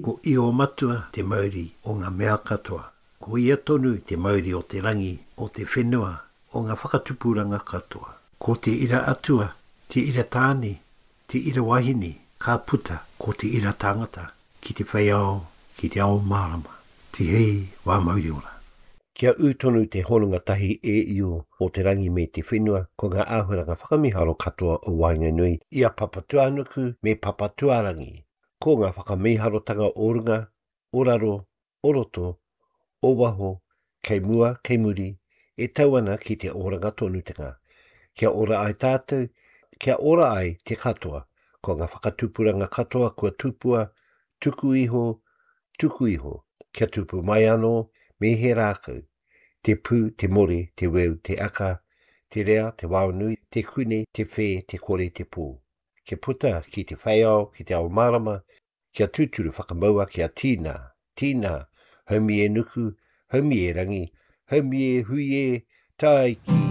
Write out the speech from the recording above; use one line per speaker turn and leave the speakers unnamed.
Ko Io Matua te mauri o nga mea katoa. Ko ia tonu te mauri o te rangi, o te whenua, o nga whakatupuranga katoa. Ko te ira atua, te ira tāne, te ira wahine, ka puta ko te ira tangata ki te whei ao, ki te ao mārama. Tihei wā mauri ora.
Kia ū tonu te hononga tahi e Io o te rangi me te whenua, ko ngā āhuaranga whakamīharo katoa o waenganui i a Papatūānuku me Papatūārangi. Ko ngā whakamīharotanga o runga, o raro, o roto, o waho, kei mua, kei muri, e tau ana ki te oranga tonutanga. Kia ora ai tātou, kia ora ai te katoa, ko ngā whakatupuranga katoa kua tupua, tuku iho, tuku iho, kia tupu mai anō me he rākau, te pū, te more, te weu, te aka, te rea, te waonui, te kune, te whē, te kore, te pō. Kia puta ki te wheiao, ki te ao mārama, Kia tūturu whakamaua kia tīnā, tīnā, haumi e nuku, haumi e rangi, haumi e hui e, tāiki!